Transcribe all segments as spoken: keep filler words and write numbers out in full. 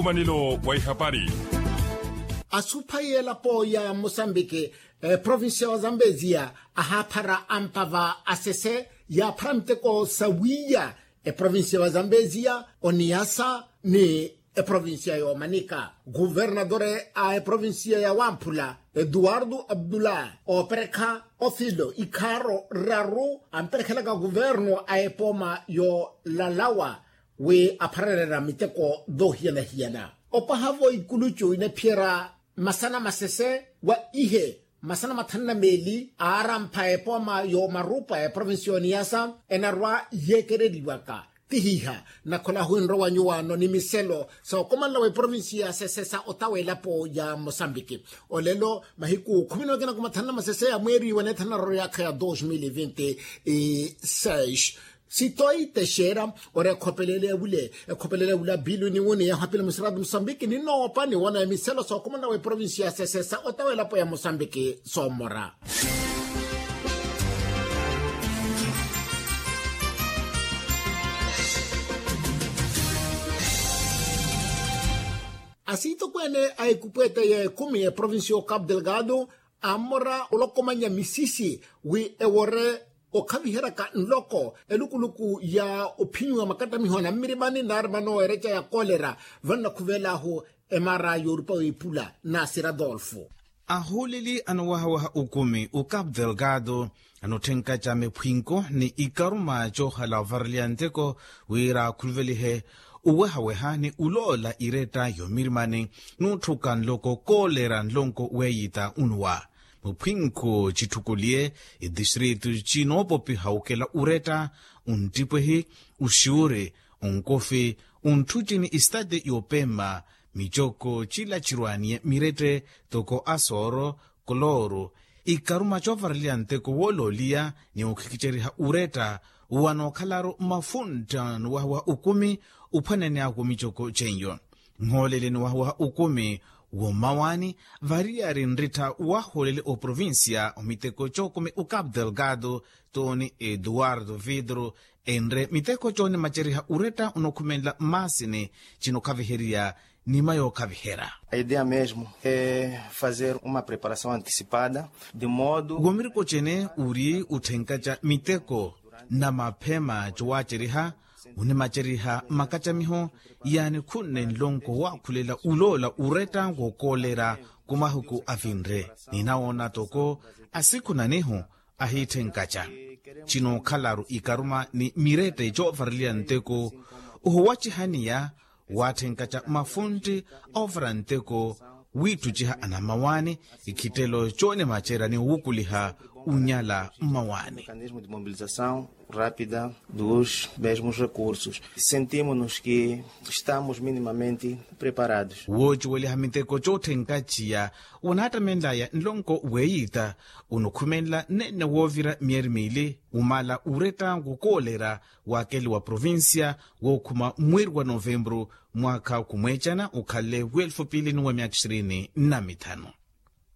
Omanelo wa ihapari. Asuphayi elapo ya mosambiki, eprovincia wa zambezia ahaaphara ampava asese yaaphara miteko sawiiya eprovincia wa zambezia, oniyasa ni eprovincia ya omanika. Kuvernatore a eprovincia ya wamphula eduardo abdullah ooperekha ofilo ikhaaro raru amperekhelaka kuverno a epooma yoolalawa wi apharerera miteko doohiyana-hiyana. Opahavo ikulucu inaphiyerya masana masese wa ihe masana mathanu na meeli aarampha epooma yoomarupa eprovincia ya oniyasa enarwa yeekereriwaka. Tihiha nakhola ahu enrowa nyuwaano ni miselo sookomanela wa eprovincia ya sesesa otawa elapo ya mosambiki. Olelo mahiku khumi na okina kumathanu na masese ya mweeri wa neethanu na raru yaakha ya dos mil e vinte e seis. Sitoite xeera ori ekhopelele ewule ekhopelele ewule apilu ni wuni yahwapila musiratu musambiki ni noopa ni wona emiselo sookomanela wa eprovincia ya sesesa otawa elapo ya mosambiki soomora. Asiitokweene a ekupweete ya ekumi eprovincia ya ocapu delgado ammora olokomanya misisi wi ewore okhaviheryaka nloko elukuluku ya ophinyu wa makattamiho a nammirimani naari vano ereca ya kolera vano nakhuveel'ahu emaara yoorupa w'ipula nasira adolfo. Ahooleli anowahawaha okumi ocapu delgado anotthenkaca miphwinko ni ikaruma coohala ovareliya nteko wira akhuluvelihe owehaweha ni oloola iretta yoomirimani n'utthuka nloko koolera nlonko weeyita onuwa. Muphwinko citthukuliye itistritu cinoopopiha okela oretta onttipwehi oxiwuri onkofi ontthuci ni estate yoopemma micoko cila cirwaaniye mirette toko asooro kolooro ikaruma coovareliya nteko woolooliya ni okhikiceriha oretta wanookhala-ru mafuntta nowahawaha okumi ophwanene ako micoko ceiyo. Nhoolele nowahawaha okumi wommawaani variyari nrittha wahoolele oprovincia omiteko cookumi ocapu delgado toni eduardo vidro enre miteko coonimaceriha oretta onokhumenla mmaasini cinokhaviherya nima yookhaviherya. A ideia mesmo é fazer uma preparação antecipada de modo womiriko cene ori otthenkaca miteko na maphema cowaaceriha onimaceriha makacamiho yaani khunne nlonko waakhulela oloola oretta wookoolera kumahuku avinre ninawoona toko asikhunanihu ahiitthenkaca cinookhala-ru ikaruma ni mirette coovareliya nteko ohuwacihaniya waatthenkaca mafuntti oovara nteko wiitthuciha anammawaani ikhittelo coonimacerya ni owukuliha onyala mmawaani. Mecanismo de mobilização rápida dos mesmos recursos sentimos-nos que estamos minimamente preparados. Woociweliha miteko cootthenkaciya wanaattamenlaya nlonko weeyitta onokhumenla nneenne woovira myeeri miili omala oretta wokoolera waakeli wa provincia wookhuma mweeri wa novembru mwaakha khumweecana okhanle wa elfu piili ni wa myaakha ishirini na mithanu.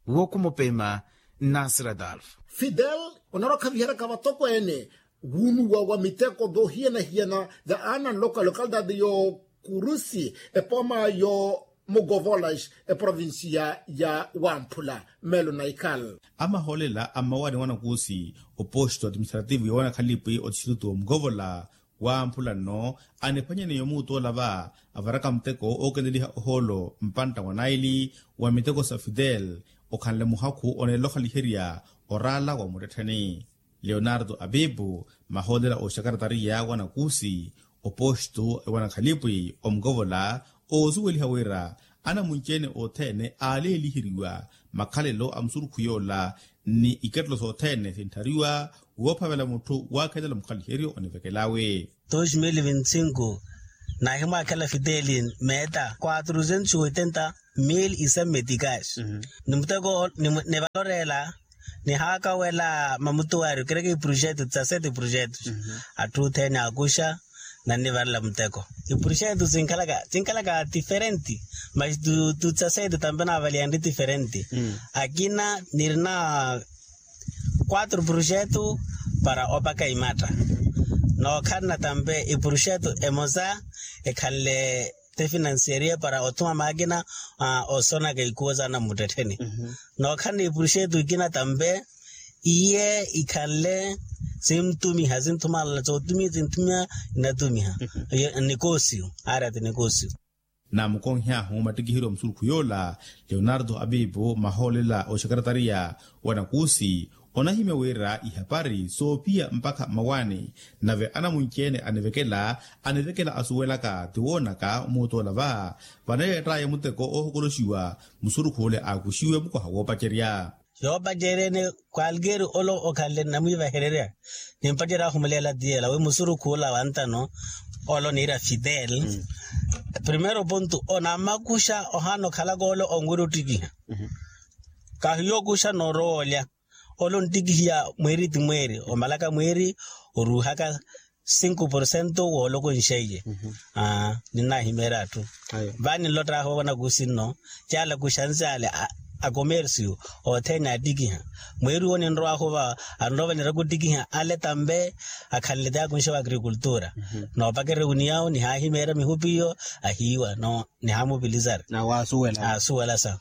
Wookhuma opeema nnasira adolfo. Fidel onarwa okhaviheryaka vatokweene wuunuwa wa miteko voohiyana-hiyana va ana nloko a localidade y'okurusi epooma y'omugovolas eprovincia ya wamphula. Melo naikal amahoolela a mmawaani wa nakuusi oposto administrativo ya wanakhalipi otistrito wa mugovola wamphula nno aniphwanyaneya omuutu ola va avaraka muteko ookeneliha ohoolo mpantta wa naili wa miteko sa fidel okhanle muhakhu oneela okhaliherya oraala wa muttettheni. Leonardo abibu mahoolela oxakaratariya wa nakuusi oposto wa nakhalipi omukovola oosuweliha wira anamunci-ene othene aaleeliheriwa makhalelo a musurukhu yoola ni ikettelo sothene sintthariwa woophavela mutthu waakhelela mukhaliheryo onivekelawe. Dos mil vinti cinco nahimwaakhela fideli meeta quatrucentos oitenta mil isame meticais. Ni muteko nivaloreela nihaakawela mamutuwari okereke iprojeto tsasete iprojeto atthu othene akuxa nannivarela muteko. Iprojeto tsinkhalaka tsinkhalaka diferente mas tu tsasete tampe naavaliyanri diferente. Akina nirina quatro projeto para opaka imatta nookhalana tampe iprojeto emosa ekhanle te finansieriye para othuma maakina osonaka ikuwo saana mmuttettheni. Nookhalana ipuruxetu ikina tampe iye ikhanle sinthumiha sinthumalala sootumiha sinthumiha. Nnatumiha. Nnikosiyu. Aari ati nikosiyu. Naamukonhy'ahu mattikiheryo a musurukhu yoola leonardo apiipo mahoolela oxekaretariya wa nakuusi onahimya wira ihapari soophiya mpakha mmawaani. Nave anamunci-ene anivekela anivekela asuwelaka tiwoonaka omuutoola va. Vanayeett'aya muteko oohokoloxiwa musurukhu ole aakuxiwe mukoha woopacerya. Yoopacerya ene kwalkeeri ole okhanle nnamwiivahererya nimpacerya ahumuleela tiyela wi musurukhu ola wa ntano ole oniira fidel. Primero pontu onamakuxa ohaana okhalaka ole onwira ottikiha. Kahiyo okuxa noorowa olya ole onttikihiya mweeri ti mweeri omalaka mweeri oruuhaka sinku porcento woolokonxeiye. Ninnahimeerya atthu vani nlott'ahu vanakusi nno caala kuxansi ale a komersiyo othene attikiha. Mweeri wo ninrow'ahu va anrowa vaniraka ottikiha ale tampe akhanle ti akunxe wa agrikultura. Noopakererya winiyawo nihaahimeerya mihupi iyo ahiiwa no nihamupilisari. Asuwelasa.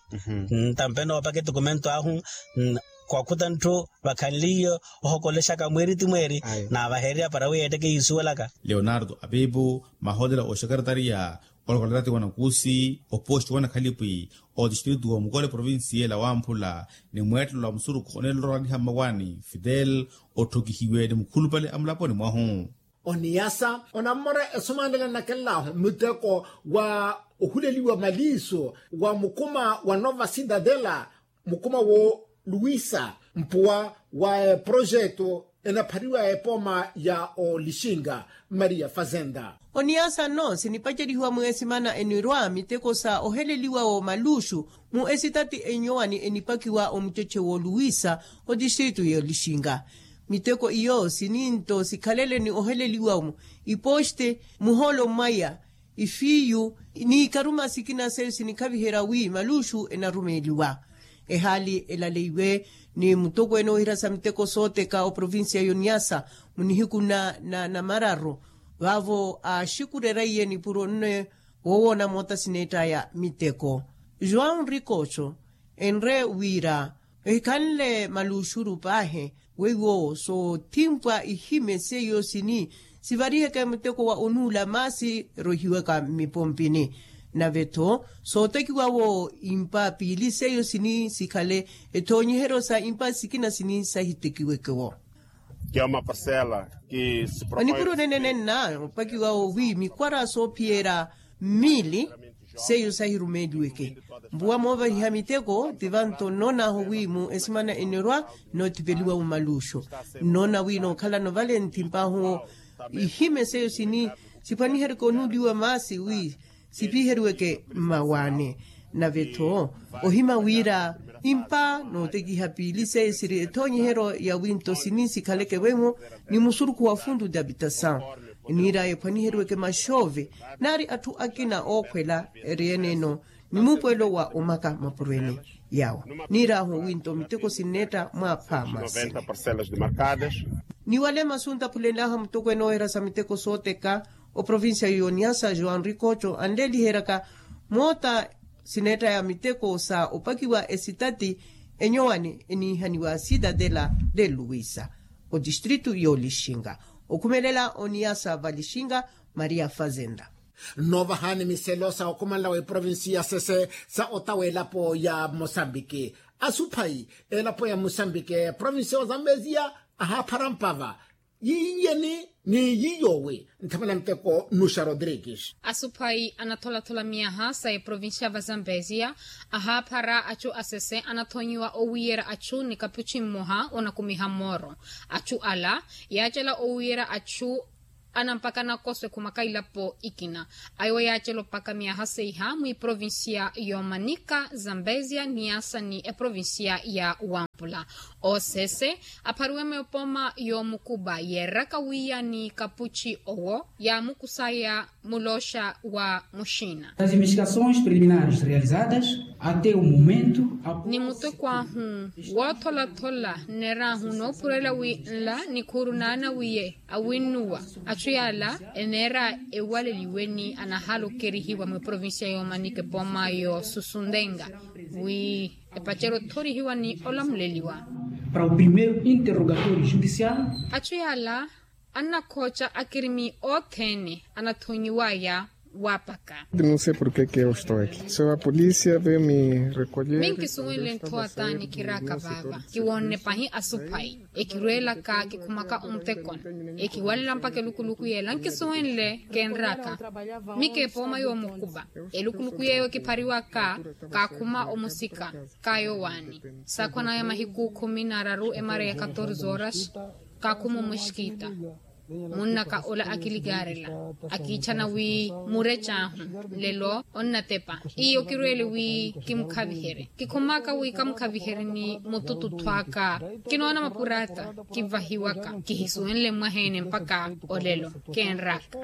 Tampe noopaka etikumento ahu kwakhuta ntthu vakhanliye ohokolexaka mweeri ti mweeri naavahererya para wi yeetteke yiisuwelaka. Leonardo apiipo mahootela oxekaretariya olokolerati wa nakuusi oposti wa nakhalipwi otistritu wa mukole provincia ela wamphula ni mweettelo wa musurukhu oneelola oraliha mmawaani fidel otthokihiwe ni mukhulupale a mulaponi mwahu. Oniyasa onammora esumanela nnakellahu muteko wa ohuleliwa maliiso wa mukuma wa nova sidadela mukuma wo luwisa mpuwa wa eprojeto enaphariwa epooma ya olixinga maria fazenda. Oniyasa nno sinipacelihiwa mweesimana enirwa miteko sa oheleliwa wo maluxu mu esitati enyowani enipakiwa omucece wo luwisa otistritu y'olixinga. Miteko iyo sininto sikhalele ni oheleliwa-mo iposte muhoolo mmwaya ifiiyu ni ikaruma sikina seyo sinikhaviherya wi maluxu enarumeeliwa. Ehaali elaleiwe ni mutokweene oohirasa miteko sooteka oprovincia y'oniyasa mu nihiku na namararu vaavo aaxikurerya iye nipuro nne woowoona moota sineett'aya miteko. João rikoxo enre wira ehikhanle maluxuru paahi weiwo soothimpwa ihime seiyo sini sivariheke muteko wa onuula maasi erohiwaka mmipompini. Nave-tho sootekiwa-wo impa piili seiyo sini sikhale ethoonyiheryo sa impa sikina sini sahitekiweke-wo. Onipuro nene nenna opakiwa-wo wi mikwara soophiyerya mmili seiyo sahirumeeliweke. Mpuwa moovahiha miteko ti vanto nnoon'ahu wi mu esimana enorwa nnoothipeliwa mu maluxo. Nnoona wi nookhalano vale nthimp'ahu ihime seiyo sini siphwaniheryeke onuuliwa maasi wi sipiheriweke mmawaani. Nave-tho ohima wira impa nootekiha piili seiyo siri ethoonyiheryo ya winto sini sikhaleke vemo ni musurukhu wa fundu de habitasaw eniir'aya ephwaniheriweke maxoove naari atthu akina ookhwela eri ene-eno ni muupuwelo wa omaka mapuro ene. Yawo niir'ahu winto miteko sinneetta mwaapha masi. Ni wale masu ntaphulel'ahu a mutokweene oohirasa miteko sooteka oprovincia y'oniyasa joão rikoxo anleeliheryaka moota sineett'aya miteko sa opakiwa esitati enyowani eniihaniwa cidadela de luwisa otistritu y'olixinga. Okhumelela oniyasa valixinga maria fazenda. Nnoovahani miselo sa okhumanela wa eprovinsi ya sese sa otawa elapo ya mosambiki asuphayi elapo ya mosambiki provinsi ya ozambeziya ahaaphara mpava yiiyeni ni yiiyowi nthamana nteko nusha rodrigues. Asuphayi anatholathula miyaha sa eprovinsi ya vazambeziya ahaaphara achu asese anathonyiwa owiiyerya achu ni kapuchi mmoha onakumiha mooro. Achu ala yaacela owiiyerya achu anampaka nakoso ekhumaka ilapo ikina. Ayo yaacela opaka miyaha seiha mwiprovinsiya y'omanika zambezia niyasa ni eprovinsiya ya wampa. Oosese aphariwe mepoma y'omukupa yeeraka wiya ni kapuchi owo yaamukusaya mulooxa wa muxina. As investigações preliminares realizadas até o momento. Ni muteko ahu wootholathola nneerahu noophurela wi nla nikhuuru naanawiye awinnuwa. Atthu yaala eneera ewaleliwe ni anahaala okerihiwa mweprovincia y'omanika epoma y'osusuntenga wi epacerya othorihiwa ni olamuleliwa. Para o primeiro interrogatório judicial. Atthu yaala annakhooca akirimi othene anathonyiwaya waapaka. Não sei porquê que eu estou aqui. Só a polícia veio me recolher. Mi nkisuwenle nthowa taani kiraaka vaava kiwoonne pahi asuphayi ekirweelaka kikhumaka omutekoni ekiwalela mpakha elukuluku yeela nkisuwenle keenraaka. Mi keepooma yoomukupa elukuluku yeeyo kiphariwaka kaakhuma omusika kaayowaani saakhwanaya mahiku khumi n'araru emara ya katorze horas. Kaakhuma omuxikiita munnaka ola akilikaarela akiitthana wi murec'ahu nlelo onnatepa iyo kirweele wi kimukhaviherye kikhumaka wi kamukhaviherye ni mutututthu aka. Kinoona mapuraata kivahiwaka kihisuwenle mwaheene mpakha olelo keenraka.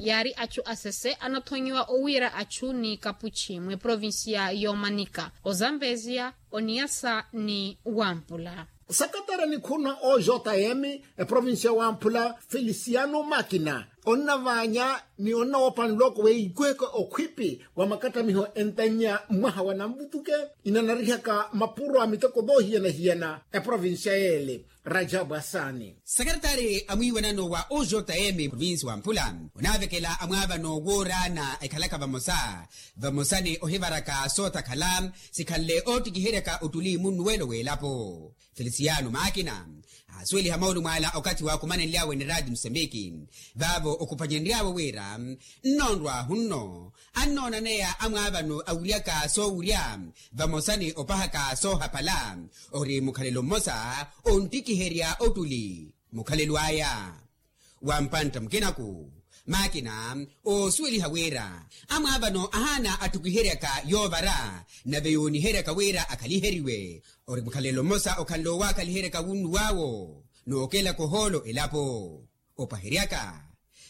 Yaari atthu asese anathonyiwa owiira atthu ni kapuchi mweprovincia y'omanika ozambeziya oniyasa ni wampula. Sakatara nikhuna o jm eprovincia wampula feliciano makina onnavaanya ni onnawoopa nloko weikweke okhwipi wa makattamiho entannya mwaha wa nanvutuke inanarihaka mapuro a miteko voohiyana-hiyana eprovincia yeele. Rajabu asani. Sekaretari a mwiiwanano wa ojm provinsi wa mpula onaavekela amwaavano wooraana ekhalaka vamosa vamosa ni ohivaraka sootakhala sikhanle oottikiheryaka ottuli munnuwelo w'elapo. Felisiano maakina aasuweliha maulu mwaala okathi waakumanenly'awe ni raati musambiki vaavo okhupanyenry'awe wira nnoonrw'ahu nno annoonaneya amwaavano awuryaka soowurya vamosa ni opahaka soohapala ori mukhalelo mmosa onttikiherya ottuli mukhalelo aya. Wa mpantta mukinaku maakina oosuweliha wira amwaavano ahaana atthukiheryaka yoovara nave yooniheryaka wira akhaliheriwe ori mukhalelo mmosa okhanle owaakaliheryaka wunnuw'awo nookelaka ohoolo elapo. Opaheryaka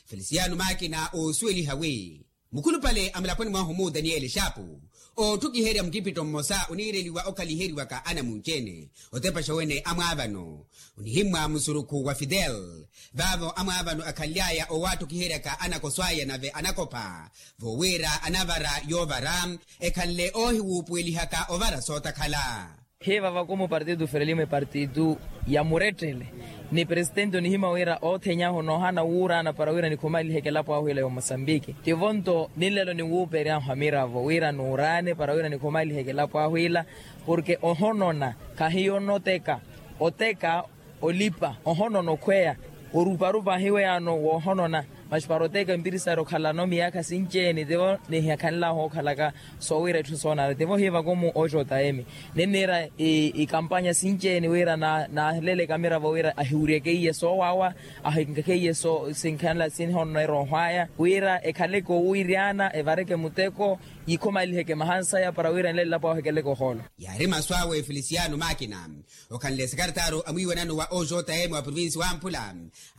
felisiano maakina oosuweliha wi mukhulupale a mulaponi mwahu mu daniyeli xaapu ootthukiherya mukipitto mmosa oniireliwa okhaliheriwaka anamunci-ene otepaxa wene amwaavano onihimmwa musurukhu wa fidel vaavo amwaavano akhanly'aya owatthukiheryaka anakoso aya nave anakopha voowira anavara yoovara ekhanle oohiwuupuwelihaka ovara sootakhala. Hiiva vakumu partitu ferelimo epartitu ya muretthele ni presitenti onihimya wira oothenyahu noohana wuuraana para wira nikhumaliheke elapo ahu ila ya omosambiki tivo nto ninlelo ninwuuperyahu amiravo wira nuuraane para wira nikhumaliheke elapo ahu ila porke ohonona khahiyo onoteka oteka olipa ohonona okhweya oruparupa ahiweyaano woohonona. Maxi para oteka empirisari okhalano miyaakha sinci-ene tivo nihikhanlahu okhalaka soowira etthu soonana tivo hiivakumu ojotaemi ninniira ikampanya sinci-ene wira naaleleke amiravo wira ahiwuryeke iye soowawa ahinkakhe iye sinkhanla sinhonona erooho aya wira ekhaleke owiiryana evareke muteko yikhumaliheke mahansaya para wira nlelapo ahu ekeleke ohoolo. Yaari masu awe felisiano maakina okhanle sekaretari a mwiiwanano wa ojm wa provinsi wa mpula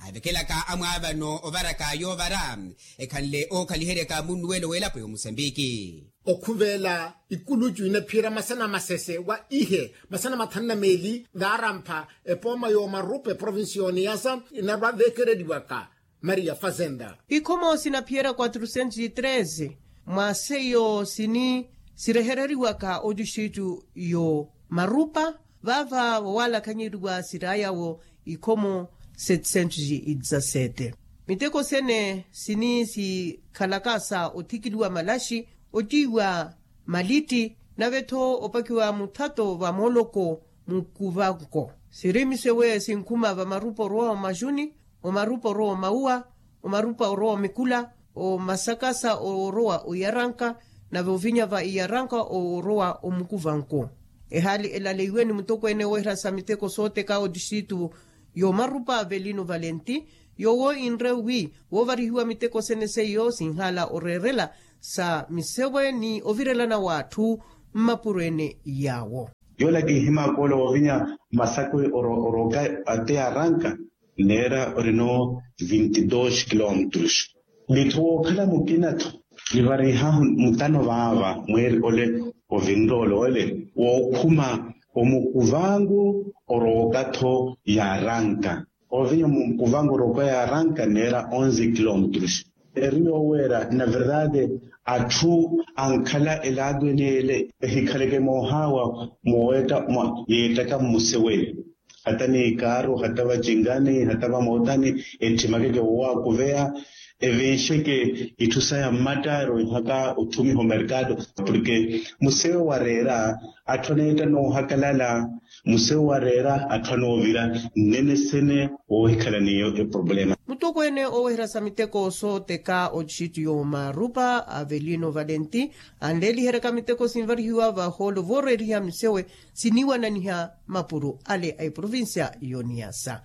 aavekelaka amwaavano ovaraka yoovara ekhanle ookhaliheryaka munnuwelo w'elapo y'omusambiki. Okhuvela ikulucu inaphiyerya masana masese wa ihe masana mathanu na meeli vaarampha epooma y'omarupa eprovinsi y'oniyasa inarwa veekereliwaka maria fazenda. Ikhomo sinaphiyerya quatrocentos e treze mwa seiyo sini sirehereriwaka otixitu yo marupa vaava vowalakhanyeriwa siraayawo ikhomo setecentos e dezasete. Miteko sene sini sikhalaka sa othikiliwa malaxi otiiwa malitti nave-tho opakiwa muthato va mooloko mukuvanko siri misewe sinkhuma vamarupa orowa omajuni omarupa orowa omauwa omarupa orowa omikula omasakasa orowa oyaranka nave ovinya va iyaranka orowa omukuvanko. Ehaali elaleiwe ni mutokweene weerasa miteko sooteka otixitu y'omarupa velino valenti yoowo inre wi woovarihiwa miteko sene seiyo sinhaala oreerela sa misewe ni ovirelana w'atthu mmapuro ene yaawo. Yola kinhimaka ola woovinya masako orooka ate yaaranka neera orino vinti dos kilometros. Nitthu wookhala mukinatho nivareihahu mutano vaava mweeri ole ovinroole ole wookhuma omukuvangu orooka-tho yaaranka. Ovinya mukuvangu orooka yaaranka neera onze kilometros. Eri yooweera na verdade atthu ankhala elaado ene ele ehikhaleke moohaawa mooweetta yeettaka mmusewe. Hata ni ikaaru hata vacinkani hata vamootani ettimakeke woowakuveya evinxeke itthu saya mmattaari oihaka otthumiha omerkado. Porke musewe wareera atthu aneetta noohakalala. Musewe wareera atthu anoovira nnene sene woohikhala n'iyo eproblema. Mutokweene oweherya sa miteko sooteka ocixitti y'omarupa avelino valenti anleeliheryaka miteko sinvarihiwa vahoolo vooreeriha misewe siniwananiha mapuro ale a eprovincia y'oniyasa.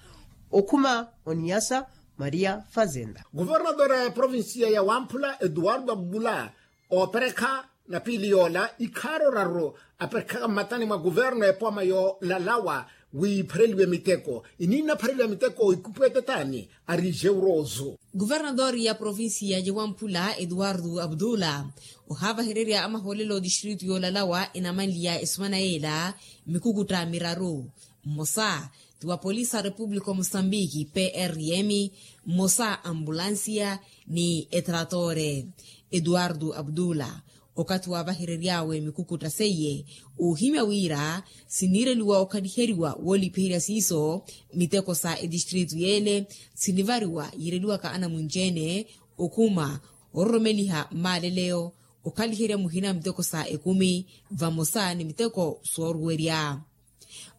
Okhuma oniyasa maria fazenda. Governador a provincia ya wamphula eduardo abdullah ooperekha na piili yoola ikhaaro raru aperekhaka mmatani mwa governo epooma yoolalawa wi iphareliwe miteko. Ininna aphareliwa miteko ikupwete taani ari jeuroso. Governador ya provincia ya wamphula eduardo abdullah ohaavahererya amahoolelo distritu yoolalawa enamanliya esumana yeela mikukutta miraru. Mmosa ti wa polisi a repupulika o mosambiki prm, mmosa ambulansiya ni etratore. Eduardo abdullah okathi waavaherery'awe mikukutta seiye oohimya wira siniireliwa okhaliheriwa woolipiherya siiso miteko sa etistritu yeele sinivariwa yiireliwaka anamunci-ene okhuma ororomeliha mmaaleleyo okhaliherya muhina miteko sa ekumi vamosa ni miteko sooruwerya.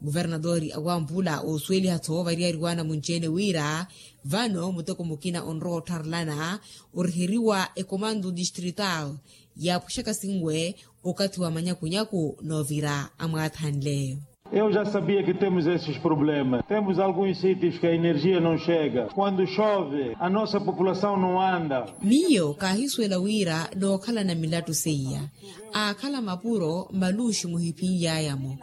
Guvernatori a wamphula oosuweliha-tho variyari wa anamunci-ene wira vano muteko mukina onrowa ottharelana oriheriwa ekomando distrital yaapwexaka sinwe okathi wa manyakunyaku noovira amwaathanle. Eu já sabia que temos esses problemas, temos alguns sítios que a energia não chega, quando chove a nossa população não anda. Miyo kaahisuwela wira nookhalana milattu seiya aakhala mapuro maluxi muhiphiny'ayamo.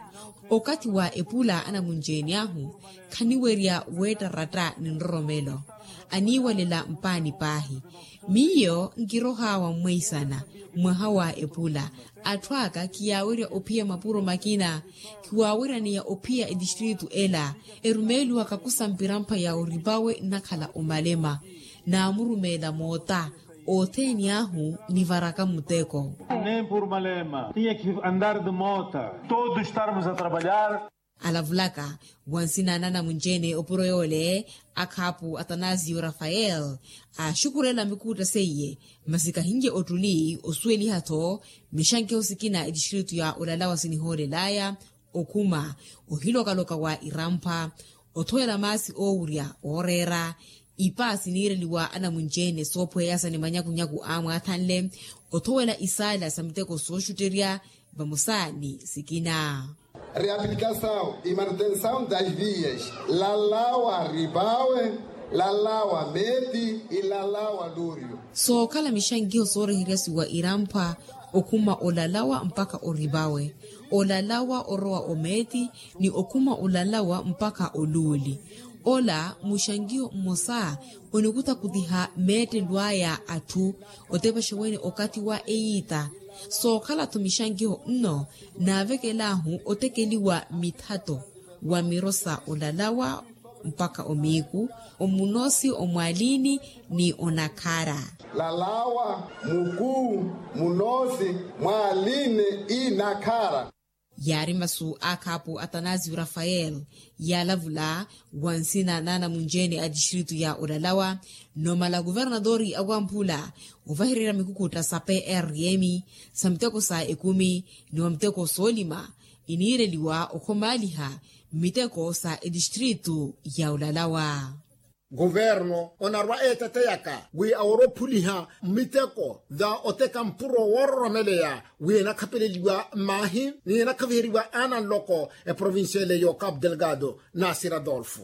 Okathi wa epula anamunci-ene ahu khaniwerya weettaratta ni nroromelo aniiwalela mpaani paahi. Miyo nkirohaawa mmweisana mwaha wa epula atthu aka kiyaawerya ophiya mapuro makina. Khiwaaweryaneya ophiya etistritu ela erumeeliwaka kusampira mpha ya oripawe nnakhala omalema naamurumeela moota othene ahu nivaraka muteko. Nem por malema tinha que andar de mota todos estarmos a trabalhar. Alavulaka wa nsina na anamunci-ene opuro yoole akhaapu atanasio rafael aaxukhurela mikuutta seiye masi kahinye ottuli osuweliha-tho mixankeho sikina etistritu ya olalawa sinihoolel'aya okhuma ohiloka-loka wa irampha othowela maasi oowurya ooreera ipa siniireliwa anamunci-ene soopweyasa ni manyakunyaku aamwaathanle othowela isaala sa miteko sooxutterya vamosa ni sikina. Reabilitasawu e manutensawu das vias lalawa ripawe lalawa meti ilalawa luryu. Sookhala mixankiho sooreheryasiwa iramphwa okhuma olalawa mpakha oripawe olalawa orowa omeeti ni okhuma olalawa mpakha oluuli. Ola muxankiho mmosa onikutakutiha meettelo aya atthu otepaxa wene okathi wa eyiita. Sookhala-tho mixankiho nno naavekel'ahu otekeliwa mithato wa miro sa olalawa mpakha omiiku omunoosi omwaliini ni onakhara. Lalawa mukuu munoosi mwaliini inakhara. Yaari masu a khaapu atanasio rafael yaalavula wa nsina na anamunci-ene a tistritu ya olalawa. Nomala kuvernatori a wamphula ovahererya mikukuutta sa prm sa miteko sa ekumi ni wa miteko soolima iniireliwa okhomaaliha mmiteko sa etistritu ya olalawa. Kuverno onarwa eeteteyaka wi aworophuliha mmiteko tha oteka mpuro woororomeleya wi enakhapeleliwa mmaahi ni enakhaviheriwa aana nloko eprovinciale y'ocapu delgado. Nasir adolfo.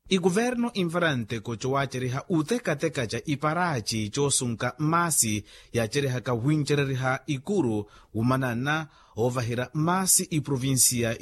Ikuverno invara nteko cowaceriha utekateka ca iparaci cosunka maasi yacerihaka wincereriha ikuru wumanana ovaherya maasi iprovincia.